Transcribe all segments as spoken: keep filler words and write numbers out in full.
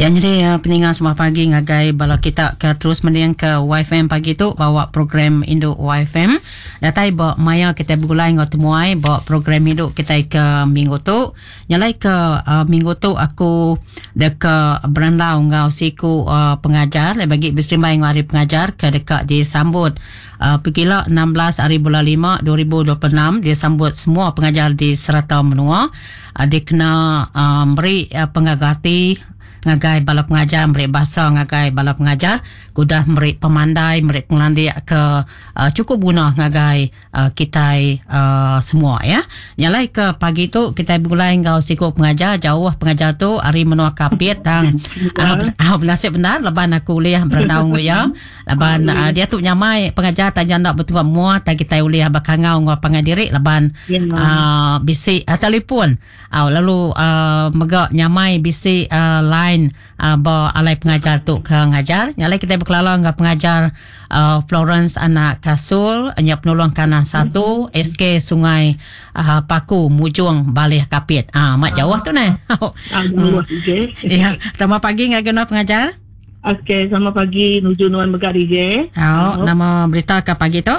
Ya, jadi uh, peningan semua pagi ngagai bala kita ke terus mending ke Y F M pagi tu bawa program Induk Y F M. Datai ba maya kita bergulai ngau temuai bawa program Induk kita ke minggu tu. Nyalai ke uh, minggu tu aku deka berandau ngau siku uh, pengajar le bagi berserimbai ngau hari pengajar ke deka disambut uh, pegila enam belas hari bulan lima dua ribu dua puluh enam disambut semua pengajar di serata menua. Uh, dikena uh, beri uh, pengagati ngagai bala pengajar, beri bahasa ngagai bala pengajar, kudah beri pemandai, beri pengelandik ke uh, cukup guna ngagai uh, kita uh, semua ya. Nyalai ke pagi tu kita bergulai ngau siku pengajar, jauh pengajar tu hari menua Kapit tang uh, uh, nasib benar laban aku uliah berandau ngau ya. Laban uh, dia tu nyamai pengajar tanya nak betul mua tak kita uliah bakangau ngau pangai diri laban uh, bisi uh, telefon. Uh, lalu uh, megak nyamai bisi uh, line Uh, ba alai pengajar tu ke ngajar. Nyalai kita berkelala dengan pengajar uh, Florence Anak Kasul, nya penolong kanan satu mm-hmm. S K Sungai uh, Paku Mujung Balih Kapit. Ah, mak jauh tu neh. Ah, jauh D J. Ya, selamat pagi ngagai nuan pengajar. Okey, selamat pagi nuju nuan mega D J. Oh, nama berita ke pagi tu?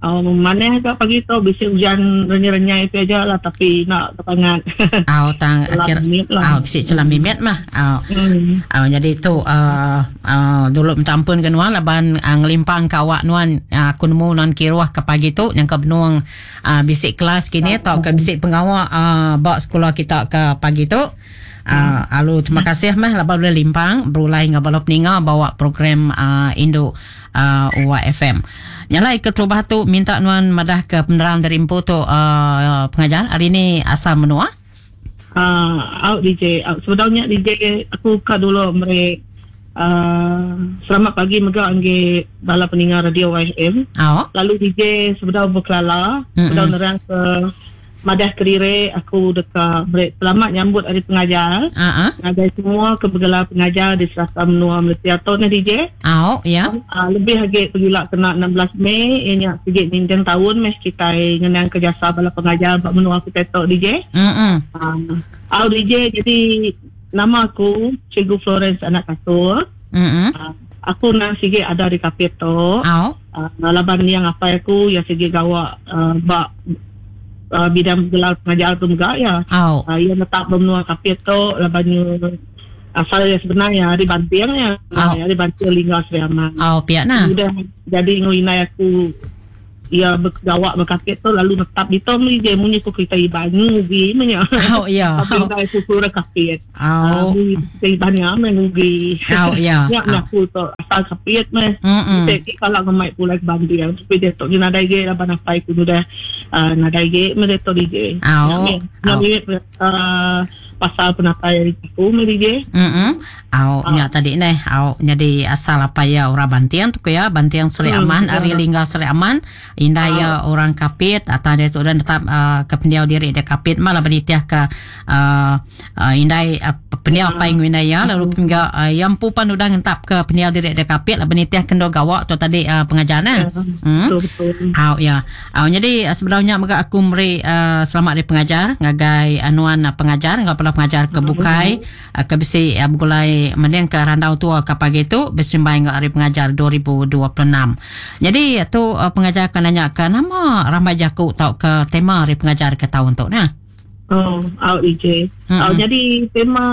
Oh, mana ke pagi tu bisi hujan renyai-renyai itu aja lah tapi nak kepangan. Oh, tang akhir. Oh, bisi celam mimit mah. Oh. Hmm. Oh, jadi tu uh, uh, dulu minta ampun ke nuan laban uh, ngelimpang ke awak nuan uh, aku nemu nuan kiruah ke pagi tu yang ke benuang uh, bisi kelas kini atau ke bisi pengawak uh, bak sekolah kita ke pagi tu. Uh, alu terima kasih mah laban boleh limpang berulai ngah bala peninga bawa program uh, Induk uh, U F M. Nyalai ke terubah tu minta nuan madah ke penerang dari empu tu uh, pengajar hari ni asal menua. Ah, uh, out D J. Uh, sebenarnya D J aku ka dulu mere uh, selamat pagi mega angge bala peninga radio Y F M. Oh. Lalu D J sebenarnya berkelala, sebenarnya nerang ke madah kerire aku dekat break selamat nyambut hari pengajar. Uh-huh. Ngagai semua kebegelar pengajar di serata menua Malaysia tu ni D J. Oh, ya. Uh, lebih lagi pergilah kena enam belas Mei ianya sikit ninten tahun mes kita ngenang kerjasa bala pengajar bak menua kita tu D J. Heeh. Uh, uh, D J jadi nama aku Cikgu Florence Anak Kasur. Heeh. Uh, aku nang sikit ada di Kapit tu. Oh. Uh, laban yang apa aku yang sikit gawak uh, bak Uh, bidang gelar pengajar tu juga ya. Oh. Uh, ia letak bermenua Kapit tu labannya asal yang sebenarnya di Banting ya. Oh. Uh, di Banting Lingga Sri Aman. Oh, pihak nah. Sudah jadi nguinai aku ia bergawak berkapit tu lalu netap di tom ni je munyi ku kita iban ngugi menya. Oh ya. Tapi oh. Aku kurang kapit. Oh. Uh, kita iban ya ngugi. Oh ya. Ya aku tu asal kapit meh. Mm-mm. Kalau ngemai pulai ke Banting tapi dia tu nadai ge laban apa aku sudah uh, nadai ge meh tu D J. Oh. Nami uh, pasal penatai aku meh D J. Heeh. Au nya tadi neh au jadi asal apa ya orang Banting tu ya Banting Seri Aman, hmm, Ari Lingga Seri Aman. Indah ya orang Kapit atau dia tu dan tetap uh, ke pendiau diri dia Kapit malah beritiah ke uh, uh, indai uh, pendiau apa yang indah ya lalu hingga uh, yang pupan udah ngentap ke pendiau diri dia Kapit lah beritiah kendo gawak tu tadi uh, pengajaran. Hmm. Betul betul. Au ya. Au jadi sebenarnya mega aku meri uh, selamat dari pengajar ngagai anuan uh, pengajar ngau pala pengajar ke bukai uh, ke bisi uh, begulai mending ke randau tua ke pagi tu bersembai ngau hari pengajar dua ribu dua puluh enam. Jadi tu uh, pengajar akan nanya ke nama ramai jaku tau ke tema hari pengajar ke tahun tu nah. Oh, out D J. Mm-hmm. Oh, jadi tema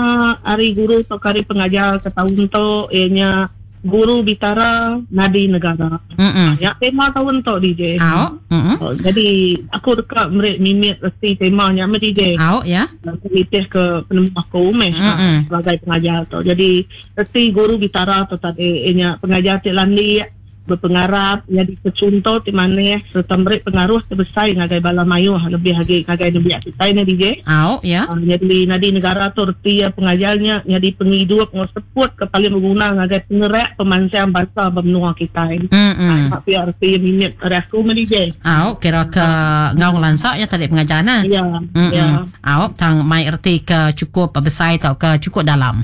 hari guru atau hari pengajar ke tahun tu ianya Guru Bitara Nadi Negara. Mm-hmm. Ya, tema tahun tu D J. Oh, mm-hmm. Oh, jadi aku dekat merik mimit reti temanya me D J. Oh, ya. Aku nitih ke penemu aku meh mm-hmm. sebagai pengajar tu. Jadi reti Guru Bitara tu tadi ianya pengajar ti landi berpengarap jadi kecontoh ti maneh serta merik pengaruh terbesar ngagai bala mayuh lebih lagi ngagai nembiak kita ni D J. Oh, ya. Uh, jadi nadi negara tu reti ya pengajarnya jadi pengidup ngau seput ke paling berguna ngagai pengerak pemansang bangsa benua kita ini. Mm-mm. Uh, tapi reti minit aku me D J. Oh, kira ke ngau lansak ya tadi pengajar nah. Ya. Ya. Oh, tang mai reti ke cukup besar atau ke cukup dalam.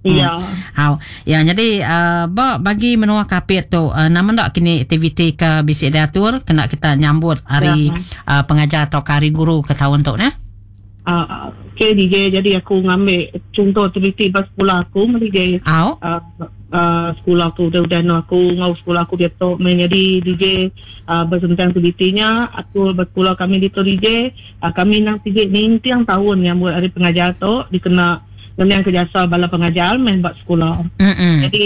Ya. Hmm. Ya, jadi uh, bagi menua Kapit tu uh, nama ndak kini aktiviti ke bisi diatur kena kita nyambut hari ya. uh, pengajar atau hari guru ke tahun tu nah. Uh, okay D J, jadi aku ngambil contoh aktiviti bas sekolah aku D J. Au. Uh, uh, sekolah aku udah-udah no aku ngau sekolah aku dia tu menjadi D J uh, bersentang aktivitinya aku bersekolah kami di tu D J. Uh, kami nang tiga ni tiang tahun yang buat hari pengajar tu dikena dengan kerjasa bala pengajar main buat sekolah. Mm-mm. Jadi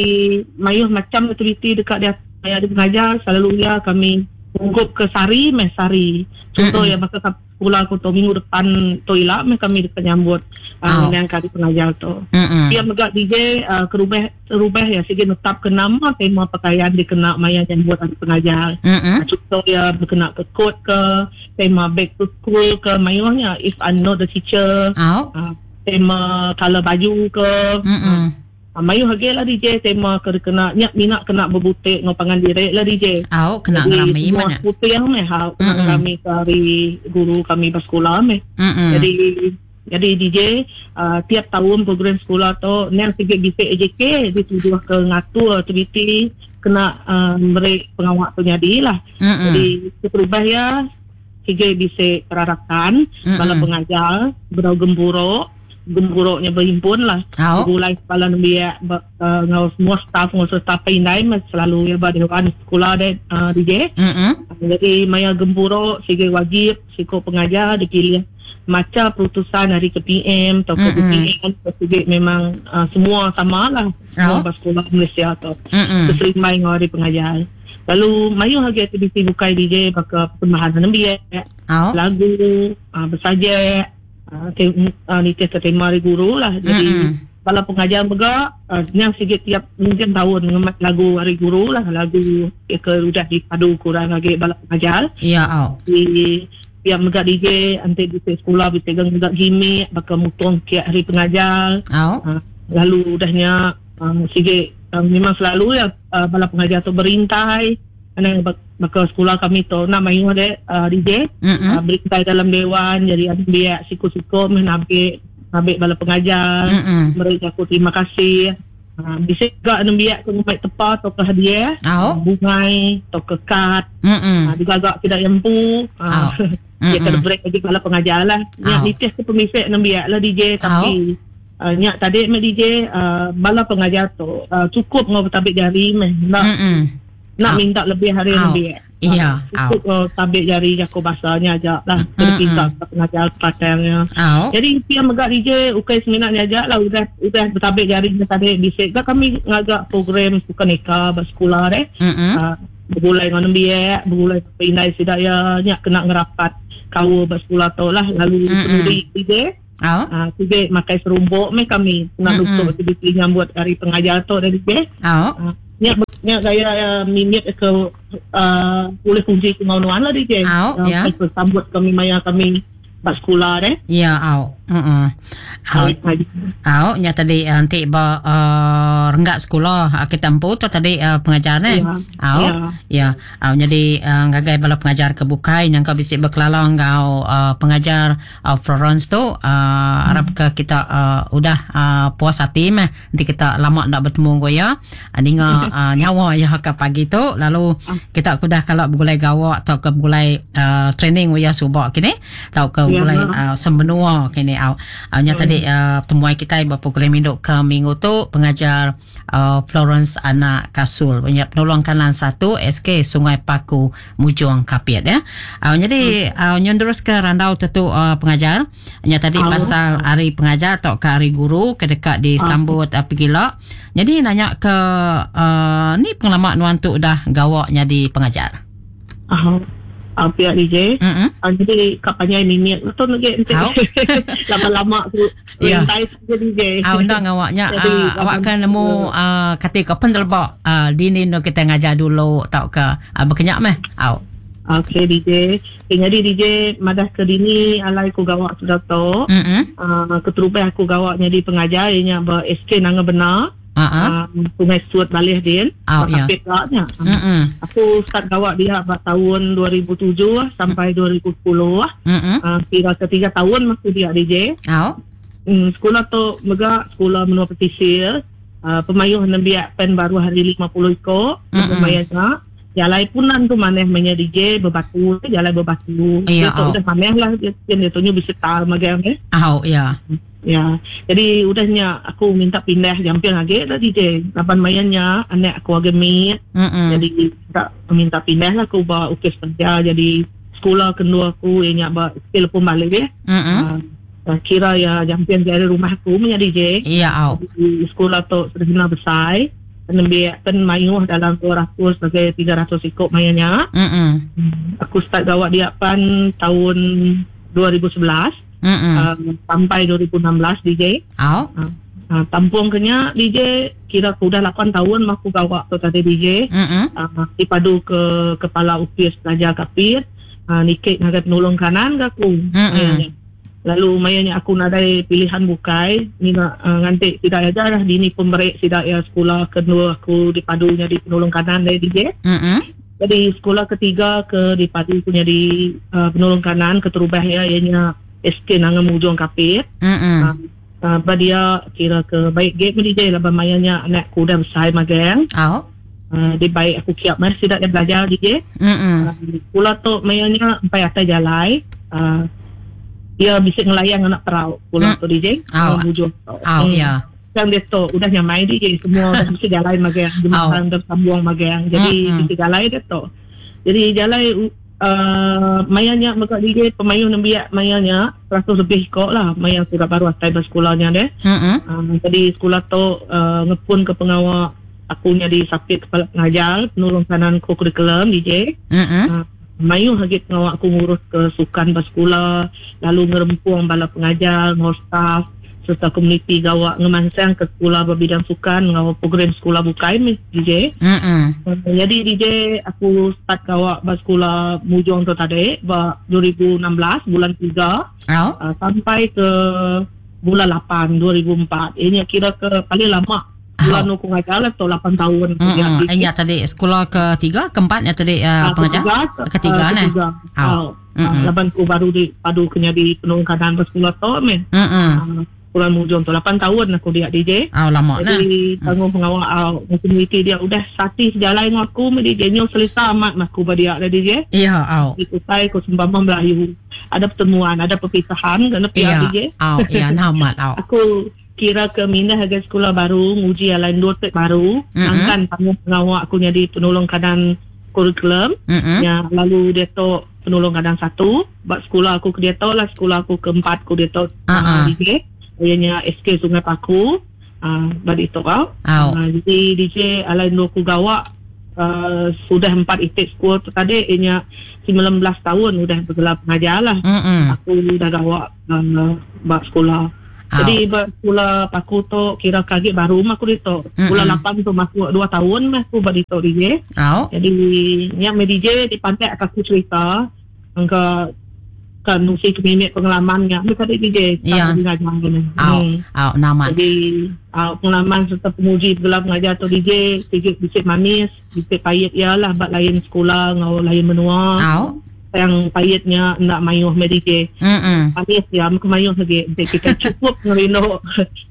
mayuh macam aktiviti dekat dia ada pengajar selalu ya kami ungkup ke sari meh sari. Contoh ya maka sekolah aku tu minggu depan tu ilak meh kami dekat nyambut uh, yang kali pengajar tu. Mm-mm. Dia megak D J uh, ke rumah rumah ya sigi netap ke nama tema pakaian dikena maya nyambut hari pengajar. Mm-mm. Contoh ya berkena ke coat ke tema back to school ke mayuhnya if I'm not the teacher. Oh. Uh, tema color baju ke. Mm-mm. Uh, mayu hage lah D J tema ke kena nyak minat kena berbutik ngopangan direk lah D J. Au kena ngerami mana? Putih yang meh hau kena ngerami ke hari guru kami bersekolah meh. Mm-mm. Jadi jadi D J uh, tiap tahun program sekolah tu nang sikit bisik A J K dituduh ke ngatur aktiviti kena uh, beri pengawak tu jadi lah. Mm-mm. Jadi berubah ya sikit bisik perarakan bala pengajar berau gemburo gemburuknya berhimpun lah. Oh. Gulai kepala nembiak uh, ngau semua staff ngau staff indai selalu ya ba dewan sekolah de uh, D J. Mm-hmm. Jadi maya gemburuk sige wajib siko pengajar dipilih maca perutusan hari ke P M atau ke Mm-hmm. B P M sige memang uh, semua sama lah. Oh. Semua sekolah Malaysia tu. Mm-hmm. Keserimai ngau hari pengajar. Lalu mayu lagi aktiviti bukai D J baka persembahan nembiak, oh. lagu, uh, bersajak Uh, te, uh, nitih ke tema hari guru lah. Jadi mm-hmm. bala pengajar juga uh, yang sikit tiap mungkin tahun ngemat lagu hari guru lah, lagu ya, ke udah dipadu kurang lagi bala pengajar. Ya, oh. Di tiap mega D J nanti di sekolah dipegang juga gimmick bakal mutong kiat hari pengajar. Oh. Uh, lalu udahnya um, sikit um, memang selalu ya uh, bala pengajar tu berintai. Ana bakal sekolah kami tu nak main ada uh, D J mm-hmm. uh, berintai dalam dewan jadi ada biak siku-siku menabik nabik bala pengajar mm-hmm. mereka aku terima kasih. Uh, bisa juga nembiak ke ngemai tepa atau ke hadiah oh. uh, bungai atau ke kad mm-hmm. uh, juga agak tidak yempu uh, oh. dia kena break lagi bala pengajar lah nyak oh. nitih ke pemisik nembiak lah D J tapi oh. uh, nyak tadi mek D J uh, bala pengajar tu uh, cukup ngau bertabik jari meh nak mm-hmm. nak oh. minta lebih hari oh. lebih. Iya. Cukup oh. tabik jari jako bahasanya aja lah. Terpisah mm-hmm. pengajar patangnya. Oh. Jadi dia megak D J ukai seminatnya aja lah udah udah bertabik jari tadi bisik. Gak kami ngagak program sukan eka bersekolah deh. Mm-hmm. Uh, bergulai dengan nembiak, bergulai indai sidaya nyak kena ngerapat kau bersekolah tu lah lalu mm-hmm. penuri D J. Oh. Uh, tiga makai serumbuk meh kami nak mm-hmm. untuk aktiviti nyambut hari pengajar tu dari D J. Oh. Uh, nyak nyak gaya uh, minit ke uh, boleh kunci kengauan lah D J. Oh, uh, ya. Sambut kami maya kami bak sekolah deh. Ya, au. Heeh. Au. Au, nya tadi nanti ba uh, renggak sekolah kita empu tu tadi uh, pengajar ne. Ya. Au. Ya. Ya. Au jadi uh, ngagai bala pengajar ke bukai nyangka bisi berkelalang ngau uh, pengajar uh, Florence tu uh, hmm. harap ke kita uh, udah uh, puas hati meh. Nanti kita lama nak bertemu ngau ya. Ninga uh, nyawa ya ke pagi tu lalu kita kudah kalau bergulai gawak atau ke bergulai uh, training ya subak kini atau ke Ya. bergulai uh, sembenua kini au. Au nya Hmm. tadi uh, temuai kita bapa program induk ke minggu tu pengajar uh, Florence Anak Kasul punya penolong kanan satu S K Sungai Paku Mujong Kapit ya. Au jadi Hmm. au nyon terus ke randau tu uh, pengajar nya tadi Au. pasal hari pengajar atau ke hari guru ke dekat disambut uh, pergila. Jadi nanya ke uh, ni pengalaman nuan tu dah gawak jadi pengajar. Ah. Uh, pihak D J. Mm-mm. Uh, jadi kapannya mimik betul lagi Au. lama-lama tu Ya. rintai saja D J. Ah undang awaknya Jadi, uh, awak kan nemu uh, kata ke pendelbak uh, dini no kita ngajar dulu tau ke uh, berkenyak meh. Au. Okey D J. Okay, jadi D J madah ke dini alai ku gawak sudah tu. Mm-mm. Uh, keterubah aku gawak jadi pengajar ianya ber S K Nanga Benar. Ah Uh, Sungai Suat Balih din. Au ya. Kapit lah. Mm-mm. Aku start gawak dia pada tahun dua ribu tujuh sampai dua ribu sepuluh. Mm-mm. Uh, kira ketiga tahun masih dia D J. Au. Hmm, sekolah tu megak sekolah menua pesisir. Uh, pemayuh nembiak pen baru hari lima puluh ikut. Mm-mm. Pemayuhnya. Jalai punan tu maneh menya D J berbatu, jalai berbatu. Ya, tu udah maneh lah dia dia tu nyu bisa tar magang eh. Oh ya. Ya. Jadi udahnya aku minta pindah jamping lagi dah D J. Laban mainnya anak aku agak mit. Jadi minta minta pindah lah aku ba ukis kerja. Jadi sekolah kedua aku ianya ba skill pun balik ya. Uh, kira ya jamping dari rumah aku menya D J. Ya, oh. Di sekolah tu sudah besar. Nembiak pen mayuh dalam dua ratus sampai tiga ratus ikut mayanya. Mm-mm. Aku start gawat dia pan tahun dua ribu sebelas uh, sampai dua ribu enam belas D J. Oh. Uh, uh, tampung kenya D J kira aku dah lapan tahun aku gawat tu tadi D J. Uh, dipadu ke kepala upis pelajar kapit, uh, nikik ngagai penolong kanan ke aku. Mayanya. Lalu mayanya aku nadai pilihan bukai ni uh, ngantik tidak aja lah dini pemberik tidak ya sekolah kedua aku dipadunya di penolong kanan dari D J. Mm-hmm. Jadi sekolah ketiga ke dipadu punya di uh, penolong kanan keterubah ya ianya S K Nanga Mujong Kapit. Mm-hmm. Uh, uh, badia kira ke baik gate D J lah mayanya anak aku dah besar magang. Oh. Uh, dia baik aku kiap mas tidak dia belajar D J. Mm-hmm. Uh, sekolah tu mayanya sampai atas jalai. Uh, dia bisa ngelayang anak perau pulang hmm. tu D J. Oh, oh hmm. ya. Yang dia tu udah nyamai D J semua dah bisa jalan magang, jembatan oh. tersambung magang. Jadi hmm. bisa jalan dia tu. Jadi jalan uh, mayanya maka D J pemayuh nembiak mayanya seratus lebih kok lah maya sudah baru atai bersekolahnya deh. Hmm. Uh, jadi sekolah tu uh, ngepun ke pengawal aku jadi sapit kepala pengajar, penolong kanan kurikulum D J. Hmm. Uh, mayuh lagi pengawal aku ngurus ke sukan bersekolah, lalu ngerempuang bala pengajar, ngurus staff serta komuniti gawak ngemansang ke sekolah berbidang sukan ngawal program sekolah bukai D J. Mm-mm. Jadi D J aku start gawak bersekolah Mujong tu tadi ba dua ribu enam belas bulan tiga oh. uh, sampai ke bulan lapan dua ribu empat. Ini kira ke paling lama bulan oh. aku ngajar lah tu lapan tahun. Mm-hmm. Ingat tadi sekolah ketiga, keempat ya tadi uh, pengajar? Ketiga, ketiga ketiga. Oh. Oh. Lapan aku baru di padu kena di penolong kanan bersekolah tu men. Mm-hmm. Uh, bulan Mujong tu lapan tahun aku dia D J. Oh, lama nah. Jadi tanggung pengawal uh, komuniti dia udah sati sejalan dengan aku D J nyo selesa amat aku berdia dah D J. Ya, oh. Itu saya aku sembang Melayu. Ada pertemuan, ada perpisahan kena pihak ya. D J. Oh, ya namat oh. Aku kira ke mindah harga sekolah baru, nguji lain dua tek baru, mm-hmm. angkan tanggung pengawal aku jadi penolong kanan kurikulum. Mm-hmm. Ya, lalu dia tu penolong kanan satu, buat sekolah aku ke dia tu lah sekolah aku keempat aku dia tu uh-huh. uh, D J. Ianya S K Sungai Paku, uh, badi itu kau. Oh. Uh, jadi D J alain dua ku gawak uh, sudah empat itik sekolah tu tadi ianya sembilan belas tahun udah bergelar pengajar lah. Mm-hmm. Aku dah gawak uh, buat sekolah. Oh. Jadi sekolah Paku tu kira kaget baru mah aku itu. Bulan lapan tu masuk dua tahun mah aku buat itu D J. Oh. Jadi yang D J di pantai aku cerita angka kan nusi kemimik pengalamannya mereka tadi D J. Ya. Oh. Oh, nama. Jadi uh, pengalaman serta penguji gelar pengajar tu D J, sikit bisik manis, bisik pahit ialah bab lain sekolah ngau lain menua. Oh. Yang pahitnya nak mayuh me D J. Mm-mm. Manis ya, mayuh lagi. Jadi kita cukup ngerino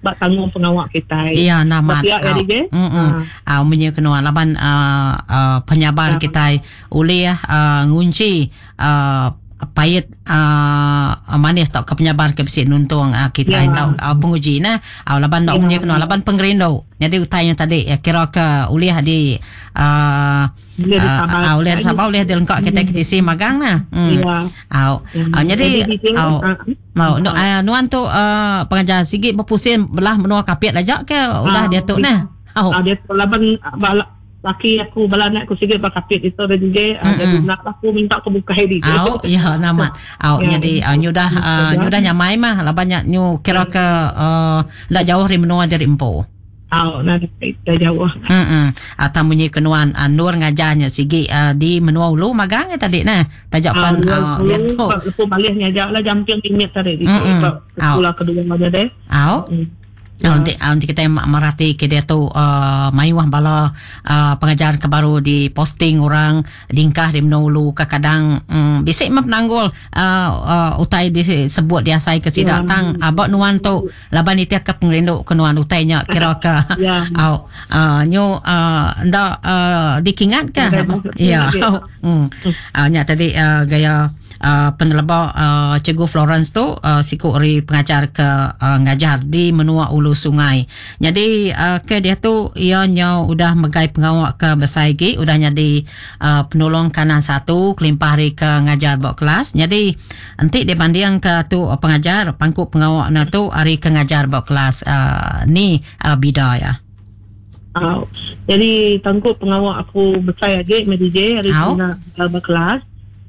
bak tanggung pengawak kita. Iya, nama. Ya, D J. Mm-mm. Ah, uh, menye kenua laban uh, uh, penyabar uh. kita oleh uh, ngunci uh, pahit uh, manis tau ke penyabar ke besi nuntung uh, kita ya. tau uh, penguji nah uh, laban dok ya. menye kenua laban pengerindu. Jadi utainya tadi ya, kira ke ulih di uh, Boleh uh, boleh sabar boleh dilengkap kita ke tisi magang nah. Hmm. Ya. Au. Ya. Jadi au. Mau uh, uh, nuan tu uh, pengajar sikit berpusing belah menua kapit aja ke udah uh, dia tu nah. Au. Uh, dia laban balak laki aku bala anak aku sikit bakapit itu ada D J mm-hmm. Jadi nak aku minta aku buka D J. Au ya namat. Au ya. Jadi uh, nyudah uh, nyudah nyamai mah labannya nyu kira ke uh, ndak jauh dari menua dari empo. Au nah dah jauh. Heeh. Atau munyi kenuan uh, Nur ngajarnya sigi uh, di menua ulu magang ya tadi nah. Tajak pan uh, dia tu. Lepas balih ngajar lah jamping limit tadi di Mm-mm. sekolah kedua aja deh. Au. Mm. Ya. Nanti nanti kita merhati ke dia tu uh, mayuh bala uh, pengajar ke baru di posting orang dingkah di menulu kadang um, bisik mah penanggul uh, uh, utai disebut diasai ke sidak ya. Tang abak nuan tu laban itiak ke pengerindu ke nuan utainya kira ke ya. Au uh, nyu uh, ndak uh, dikingat ke ya. Hmm. Uh, nya tadi uh, gaya Uh, peneleba uh, Cikgu Florence tu uh, siku ri pengajar ke uh, ngajar di menua Ulu Sungai. Jadi uh, ke dia tu ia nyau udah megai pengawak ke besai gi udah jadi uh, penolong kanan satu kelimpah hari ke ngajar bak kelas. Jadi enti dibanding ke tu uh, pengajar pangku pengawak na tu hari ke ngajar bak kelas uh, ni uh, bida ya. Uh, jadi tangkup pengawak aku besai agi M D J hari nak uh, kelas.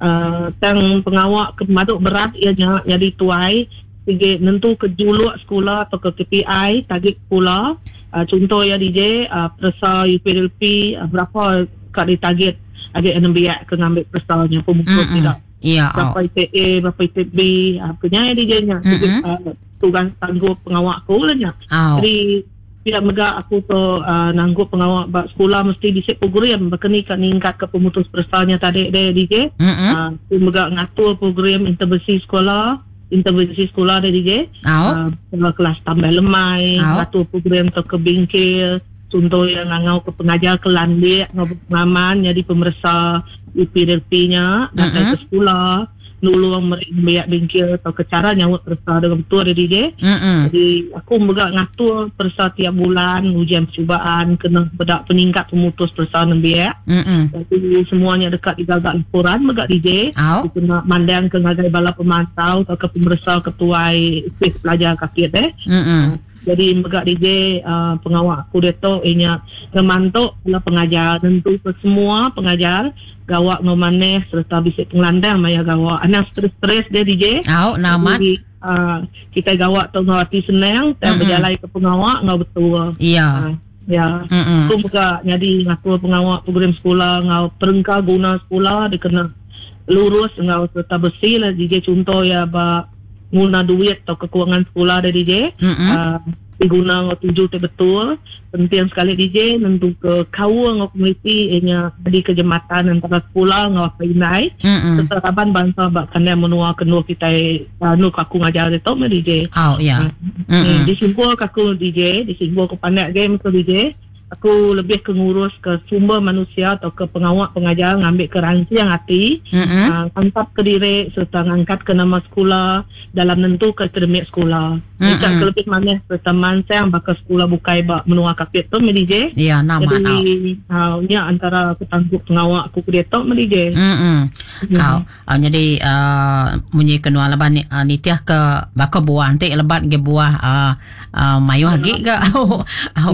Uh, tang pengawak ke maduk berat ia jadi tuai sige nentu ke juluk sekolah atau ke K P I target sekolah uh, contoh ya D J uh, persa U P L P uh, berapa kat di target agak enam biak ke ngambil persanya pemutus tidak ya berapa I T A berapa I T B uh, punya D J-nya uh, tugas tangguh pengawak aku lah nya. Oh. Jadi pihak mega aku tu uh, nanggup pengawak bak sekolah mesti disik program berkeni kat ningkat ke pemutus persanya tadi deh D J. Mm-hmm. Uh, aku mega ngatur program intervensi sekolah, intervensi sekolah deh D J. Oh. Uh, kelas tambah lemai, oh. Ngatur program tu ke bengkel, contoh yang ngangau ke pengajar ke landik, ngau pengaman jadi pemeriksa U P L P-nya datang mm-hmm. ke sekolah. Nulung mereka bengkel atau ke cara nyawut persa dengan betul dia D J. Mm-hmm. Jadi aku mega ngatur persa tiap bulan ujian percubaan kena bedak peningkat pemutus persa nembiak. Mm-hmm. Jadi semuanya dekat digagak laporan mega D J. Oh. Kena mandang ke ngagai bala pemantau atau ke pemeriksa ketuai ofis pelajar kaki deh. Mm-hmm. Jadi mega D J uh, pengawak aku dia tu inya ngemantuk bala pengajar tentu ke semua pengajar gawak ngomaneh serta bisik pengelandang maya gawak anak stres-stres dia D J. Oh, namat. Jadi, uh, kita gawak tu ngau hati senang dan mm-hmm. berjalan ke pengawak ngau betul. Iya. Uh, ya. Mm-hmm. Aku buka jadi ngatur pengawak program sekolah ngau perengka guna sekolah dia kena lurus ngau serta bersih lah D J contoh ya ba guna duit atau kekurangan sekolah dia D J. Mm-hmm. Uh, diguna ngau tuju tu betul penting sekali D J nentu ke kawa ngau komuniti ianya di kejematan antara sekolah ngau inai mm-hmm. serta raban bangsa bak kena menua kenua kita uh, nu aku ngajar dia tu D J. Oh ya. Yeah. Mm-hmm. Disimpul aku D J, disimpul ke pandai game ke D J. Aku lebih ke ngurus ke sumber manusia atau ke pengawak pengajar ngambil ke ransiang hati, mm-hmm. uh, tangkap ke diri serta ngangkat ke nama sekolah dalam nentu ke akademik sekolah. Mm-hmm. Ikat ke lebih mana serta mansang bakal sekolah bukai bak menua kapit tu D J. Ya, nama jadi uh, nya antara ketanggup pengawak aku ke dia tu D J. Mm-hmm. Mm. Uh, uh, jadi uh, munyi kenua leban uh, nitiah ke bakal buah antik lebat ke buah uh, uh, mayuh agi ke au au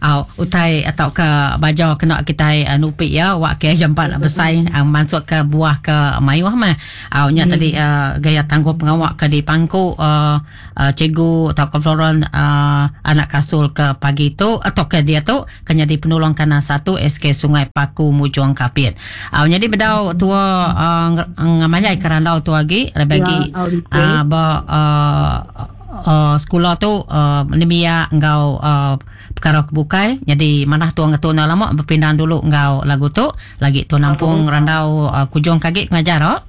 au utai atau ke baju kena kita uh, nupi ya wak ke jampat besai uh, masuk ke buah ke mayuh mah au nya Hmm. tadi uh, gaya tangguh pengawak ke di pangku uh, uh, cikgu atau ke Florence uh, anak kasul ke pagi tu atau ke dia tu kena di penolong kanan satu S K Sungai Paku Mujong Kapit. Au jadi bedau tua uh, ngamajai kerandau tu lagi lebih lagi Ya, uh, ba uh, Uh, sekolah tu uh, nemia engkau uh, perkara kebukai jadi manah tuang ngetu na lama berpindah dulu engkau lagu tu lagi tu nampung randau uh, kujung kagik pengajar oh.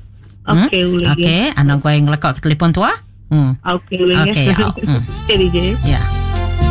Okey boleh. Okey, anak gua yang ngelekak ke telefon tua. Hmm. Okey boleh. Okey, au. Hmm. Okey D J. Ya.